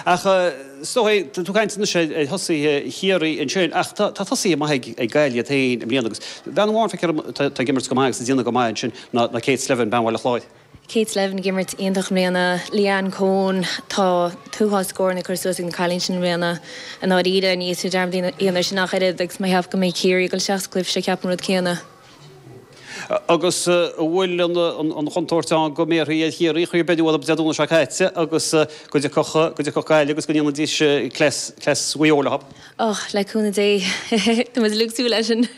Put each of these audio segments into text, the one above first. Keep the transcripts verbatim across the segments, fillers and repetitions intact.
Ach is dóigh, tá tú ag caint anois ar thosaithe Chiarraí ansin, ach tá tosaithe maithe ag Gaillimh iad féin i mbliana agus bean amháin, feictear dom, atá ag imirt go maith agus ag déanamh go maith ansin ná Kate Slevin, bean Bhaile Chláir. Kate Slevin ag imirt iontach i mbliana, Leanne Coen, tá an t-uafás scóranna curtha suas ag na cailíní sin i mbliana. I ndáiríre, ní dhéanfaí dearmad dhéanamh sin ach oiread agus má cheap go mbeidh Ciarraí ag dul isteach sa gcluiche seo ceapaim an rud céanna. Agus an bhfuil an chontúirt ann go mbéarfaí ar Chiarraí, chuir beirt uathu Dé Domhnaigh seo caite agus go dtiocfadh go dtiocfadh Gaillimh agus go ndéanfaidís cleas cleas Mhaigh Eo leo. Och, le cúnamh Dé, tá muid uilig ag súil leis sin.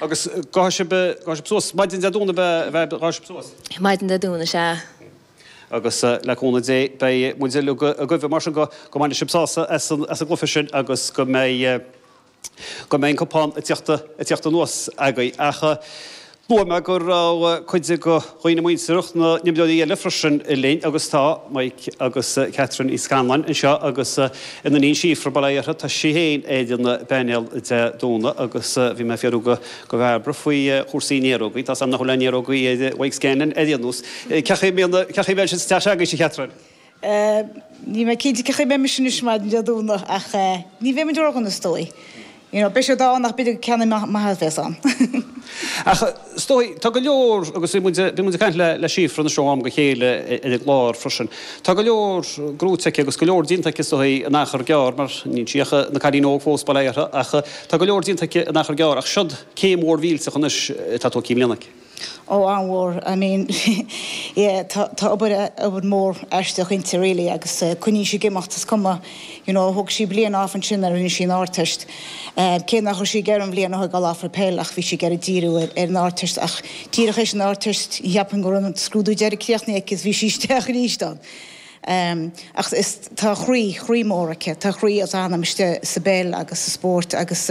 Agus gabhfaidh sibh gabhfaidh sibh suas maidin Dé Domhnaigh a bheith gabhfaidh sibh suas? Maidin Dé Domhnaigh, sea. Agus le cúnamh Dé beidh muid uilig agaibh mar sin go go mbainfidh sibh sásamh as an as an gcluiche sin agus go mbeidh go mbeidh an cupán ag tíocht ag tíocht anuas agaibh. Ach luaigh mé go raibh cuid de dhaoine muinteartha na n-imreoirí eile freisin linn agus tá Mike agus Catherine Uí Scanláin anseo agus a n-iníon Síofra, bail ó Dhia uirthi, tá sí féin ar an bpainéal Dé Domhnaigh agus bhí mé ag fiafraí go go Bhairbre faoi chúrsaí néarógaí. Tá 's agam nach bhfuil aon néarógaí ar Mike Scanlon ar aon nós. Cén chaoi a mbíonn cén chaoi a mbíonn sé sa teach agaibhse, a Chatherine? Níl mé cinnte cén chaoi a mbeidh mise anois maidin Dé Domhnaigh ach ní bheidh muid ródhona is dóigh. You know, beidh siad ann ach b'fhéidir gur ceann maith a bheas ann. Ach is dóigh, tá go leor, agus bhí muid, bhí muid ag caint le, le Síofra anois ó am go chéile ar an gclár freisin, tá go leor gnóthaithe aici agus go leor déanta aici is dóigh in achar gearr, mar níl sí ach ina cailín óg fós, bail ó Dhia uirthi, ach tá go leor déanta aici in achar gearr, ach siod céim mhór mhillteach anois atá tógtha i mbliana aici. Ó, an-mhór. I mean, yeah, tá, tá obair, obair mhór aisteach inti really agus coinníonn sí ag imeacht, is cuma, you know, thóg sí bliain off ansin nuair a rinne sí an Ardteist. Cé nach raibh sí ag iarraidh an bhliain a thógáil off ar peil ach bhí sí ag iarraidh díriú ar, ar an Ardteist ach díreach théis an Ardteist, cheapfainn go raibh an scrúdú deiridh críochnaithe aici is bhí sí isteach arís ann. Ach is, tá croí, croí mór aici, tá croí is anam istigh sa bpeil agus sa spórt agus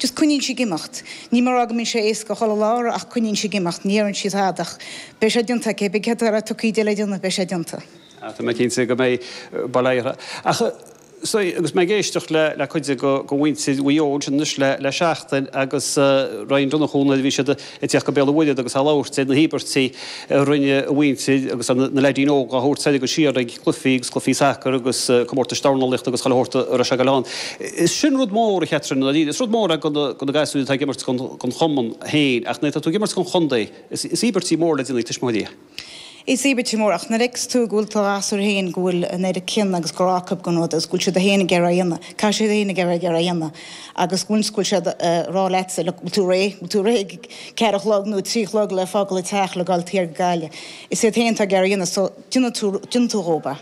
just coinníonn sí ag imeacht. Ní mar go mbíonn sé éasca chuile lá ach coinníonn sí ag imeacht, ní deireann sí tada ach beidh sé déanta aici, beidh céard atá tugtha di le déanamh, beidh sé déanta. Tá mé cinnte go mbeidh, bail ó Dhia uirthi. Ach So, agus mé ag éisteacht le le cuid de go mhuintir Mhaigh Eo ansin anois le le seachtain agus Ryan Donnchú nuair a bhí siad ag tíocht go Béal an Mhuirthead agus á labhairt ar na híobairtí a rinne a mhuintir agus na leaidín óga á thabhairt soir agus siar ag cluichí agus cluichí sacair agus comórtais dornálaíochta agus chuile shórt a raibh sé ag dul ann. Is sin rud mór, a Chatherine, i ndáiríre. Is rud mór é do na do na gasúir atá ag imirt don don chumann féin ach nuair atá tú ag imirt don chontae is is íobairtí mór le déanamh ag tuismitheoirí. Is íobairt mór, ach nuair a fheiceas tú go bhfuil do ghasúir féin, go bhfuil an oiread cion agus grá acu don rud agus go bhfuil siad féin ag iarraidh a dhéanamh, caithfidh siad féin ag iarraidh ag iarraidh a dhéanamh agus go bhfuil go bhfuil siad ag rá leatsa, look, bhfuil tú réidh, bhfuil tú réidh ag ceathair a chlog nó a trí a chlog le fágáil an teach le gabháil thiar go Gaillimh. Is iad féin atá ag iarraidh a dhéanamh so déanann tú, déanann tú dhóibh é.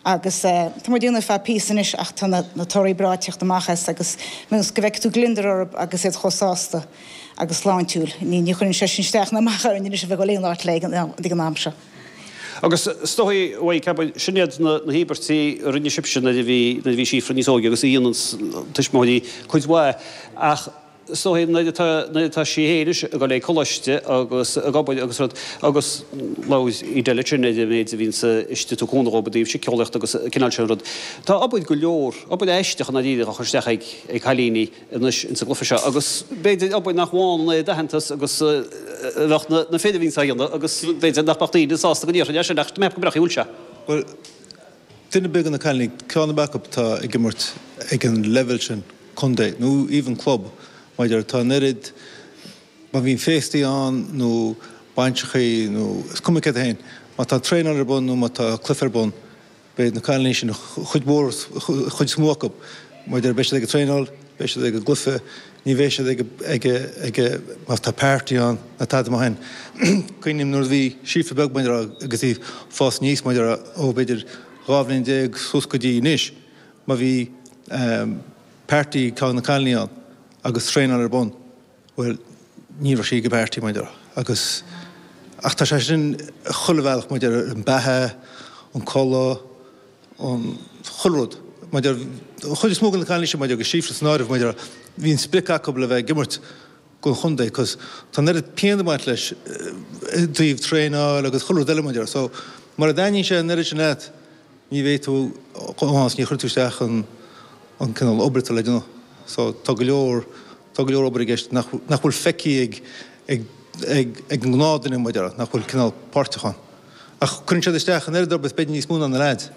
Agus tá muid ag déanamh ar feadh píosa anois ach tá na na torthaí breá ag teacht amach as agus go bhfeicfidh tú gliondar orthu agus iad chomh sásta agus sláintiúil. Ní ní chuireann sé sin isteach ná amach orainn anois a bheith ag dul aon áit le ag an am seo. Agus is dóigh, bhuel, ceapaim, sin iad na na híobairtí a rinne sibhse nuair a bhí nuair a bhí Síofra níos óige agus a dhéanann tuismitheoirí cuid mhaith ach is dóigh nuair atá nuair atá sí féin anois ag dul ag coláiste agus ag obair agus rud agus labhair Edel ansin ar an méid a bhíonns istigh ag tabhairt cúnamh dhóibh i dtaobh síceolaíochta agus an cineál sin rud. Tá obair go leor, obair aisteach i ndáiríre á chur isteach ag ag cailíní anois ins an gcluiche seo agus b'fhéidir obair nach bhfaigheann an oiread aitheantas agus a bheadh na na fir a bhíonns á dhéanamh agus b'fhéidir nach mbeadh daoine sásta go ndéarfainn é sin ach tá mé ag ceapadh go breá bhfuil sé. Bhuel, duine ar bith de na cailíní, ceann ar bith acu atá ag imirt ag an leibhéal sin, contae nó even club, maidir, tá an oiread, má bhíonn féastaí ann nó bainseachaí nó is cuma céard é féin, má tá traenáil ar bun nó má tá cluiche ar bun, beidh na cailíní sin, chuid mhór, chuid is mó acu, maidir, beidh siad ag an traenáil, beidh siad ag an gcluiche, ní bheidh siad ag, ag, ag, má tá party ann ná tada mar sin. Cuimhním nuair a bhí Síofra beag, maidir, agus í ag fás aníos, maidir, ó b'fhéidir dhá bhliain déag suas go dtí anois, má bhí party ag na cailíní ann agus traenáil ar bun, bhuel, ní raibh sí ag an bparty, maidir, agus, ach tá sé sin chuile bhealach, maidir, an beatha, an codladh, an, chuile rud, maidir, an chuid is mó de na cailíní sin, maidir, agus Síofra san áireamh, maidir, bhí an sprioc acu le bheith ag imirt don chontae, cos tá an oiread pian ag baint leis i dtaobh traenáil agus chuile rud eile, maidir, so, mura dtaitníonn sé an oiread sin leat, ní bheidh tú ann is ní chuirfidh tú isteach an an cineál obair atá le déanamh. So tá go leor, tá go leor obair i gceist nach, nach bhfuil feicthe ag, ag, ag, ag an ngnáthdhuine, mar a déarfá, nach bhfuil cineál páirteach ann. Ach cuireann siad isteach an oiread oibre is b'fhéidir níos mó ná na leaids.